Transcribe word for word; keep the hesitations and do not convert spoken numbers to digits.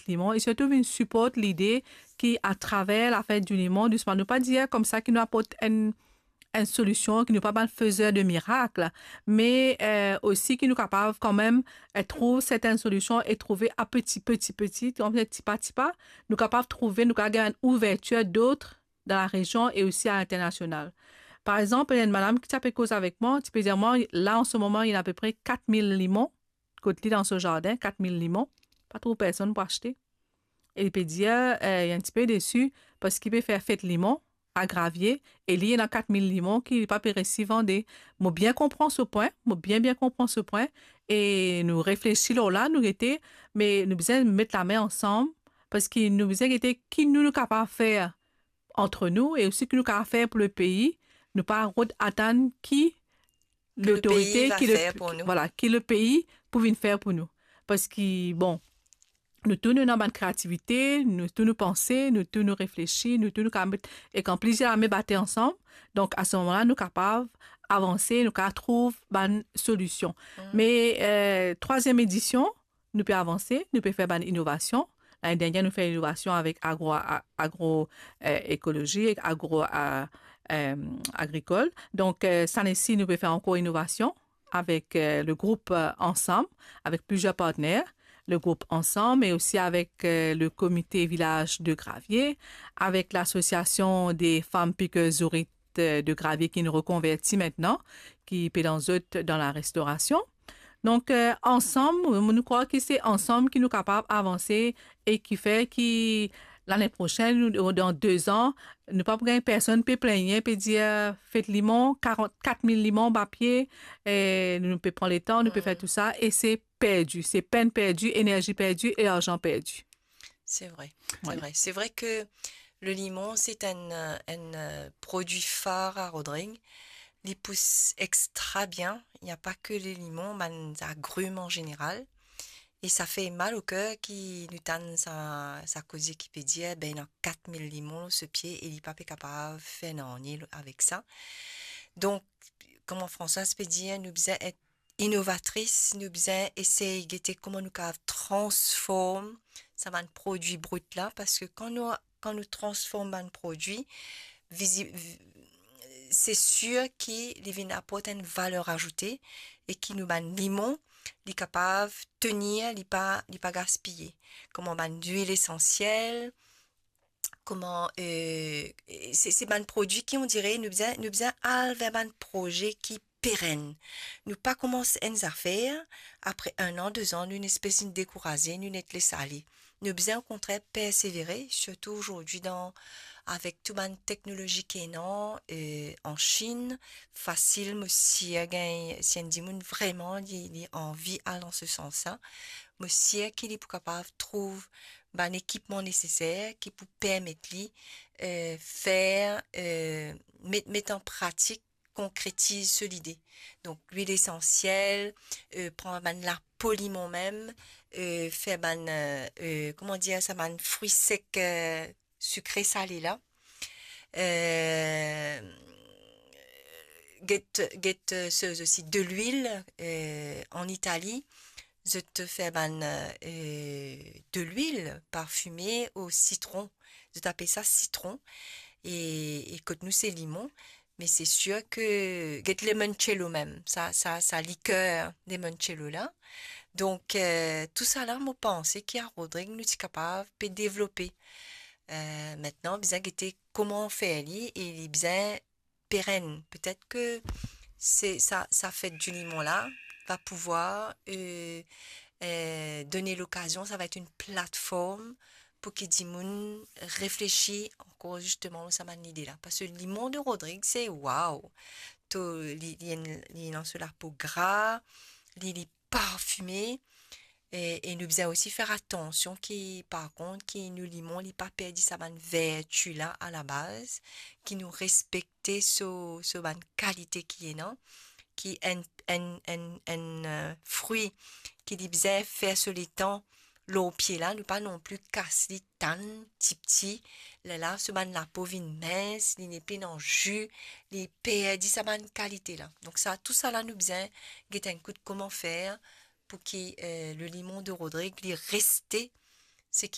limon, e sirtou vinn siport lide ki atraver lafet di limon, dousman, nou pa dir koumsa ki nou aport enn, enn solision, ki nou pa bann fezer de mirak, me, eh, osi ki nou kapav kanmem, eh, trouv sertenn solision e trouve a peti, peti, peti, tipa, tipa, nou kapav trouve, nou kapav gagn enn ouvertir dot dan la rezion e osi a linternasional. Par exanp, enn madam ki ti pe koz avek mwa, ti pe dir mwa, la, an se moman, ena apepre kat mil limon, kot li dan so zardin, kat mil limon, pa trouv personn pou aste. E li pe dir, eh, li enn tipe desi, parski li pe fer fet limon a Gravie, e li ena kat mil limon ki li pa pe resi vande. Mo bien konpran so pwin, mo bien, bien konpran so pwin, e nou reflesi lor la, nou gete, me nou bizin met lame ansam, parski nou bizin gete ki nou, nou kapav fer ant nou, e osi ki nou kapav fer pou lepei, nou pa rod atann ki Ki lepei lotorite, va ki le, fer pou nou. Vwala, ki lepei pou vinn fer pou nou. Parski, bon, nou tou nou ena bann kreativite, nou tou nou panse, nou tou nou reflesi, nou tou nou kapav met, e kan plizier lame bate ansam, donk a se moman la, nou kapav avanse, nou kapav trouv bann solision. Mm. Me, eh, trwaziem edision, nou pe avanse, nou pe fer bann inovasion. Lane dernie, nou fer inovasion avek agro, a-, agro, eh, ekolozi, agro, a-, eh, agrikol. Donk, eh, sane-si, nou pe fer ankor inovasion avek, eh, le group, eh, Ansam, avek plizier partner, le group Ansam, e osi avek, eh, le komite vilaz de Gravie, avek lasosiasion de fam pikez zourit, eh, de Gravie ki nou rekonverti aster, ki pe dan zot dan la restorasion. Donk, eh, ansam, nou, nou krwar ki se ansam ki nou kapav avanse e ki fer ki lane prosenn, ou dan de zan, nou pa pou gagn personn pe plengne, pe dir, fet limon, karant, kat mil limon, ba pie, eh, nou pe pran letan, nou pe fer Mm. tou sa, e se perdi, se penn perdi, enerzi perdi e larzan perdi. Se vre, se Wi. vre. Se vre ke le limon, se enn, eh, enn, eh, prodwi far a Rodrig. Li pous extra bien. Ena pa ke le limon, bann agrim an zeneral. E sa fer mal o ker ki nou tann sa, sa koze ki pe dir, be, ena kat mil limon lor so pie e li pa pe kapav fer nanye avek sa. Donk, kouma Françoise pe dir, nou bizin et inovatris, nou bizin esey gete kouma nou kapav transform sa bann prodwi brit la, parski kan nou, kan nou transform bann prodwi, vizi-, vi-, se sir ki li vinn aport enn valer azoute e ki nou bann limon, li kapav tenir, li pa, li pa gaspiye. Kouma bann lwil esansiel, kouma, eh, se, se bann prodwi ki, on dirait, nou bizin, nou bizin al ver bann proze ki perenn. Nou pa koumans enn zafer, apre enn an, de zan, nou ena enn espes de dekouraze, nou net les ale. Nou bizin, okontrer, persevere, sirtou azordi dan, avek tou bann teknolozi ki ena, eh, an Chinn, fasil, mo sir gagn, si enn dimoun vreman li, li anvi al dan se sans la, mo sir ki li pou kapav trouv bann ekipman neseser ki pou permet li, eh, fer, eh, met, met an pratik, konkretiz so lide. Donk, lwil esansiel, eh, pran bann lapo limon mem, eh, fer bann, eh, eh, kouma dir sa, bann fri sek, eh, sikre sale la. Eh, get, get, eh, so, osi de lwil, eh, an Itali, zot fer bann, eh, de lwil parfime o sitron. Zot apel sa sitron. E, e kot nou, se limon. Me se sir ke, get limoncello mem, sa, sa, sa liker limoncello la. Donk, eh, tou sa la, mo panse ki a Rodrig nou ti kapav pe devlope. Eh, aster, bizin gete kouma fer li e li bizin perenn. Petet ke se, sa, sa fet di limon la va pouvwar, eh, eh, donn lokazion, sa va et enn platform pou ki dimoun reflesi ankor zisteman lor sa bann lide la. Parski limon de Rodrig, se waw! To, li, li, li ena so lapo gra, li, li parfime, e, e nou bizin osi fer atansion ki, par kont, ki nou limon, li pa perdi sa bann verti la alabaz, ki nou respekte so, so bann kalite ki ena, ki enn, enn, enn, enn, eh, fri ki li bizin fer so letan lor pie la, nou pa nonpli kas li, tann tipti, lerla so bann lapo vinn mins, li nepli ena zi, li perdi sa bann kalite la. Donk sa, tou sa la, nou bizin get enn kout kouma fer pou ki, eh, le limon de Rodrig, li reste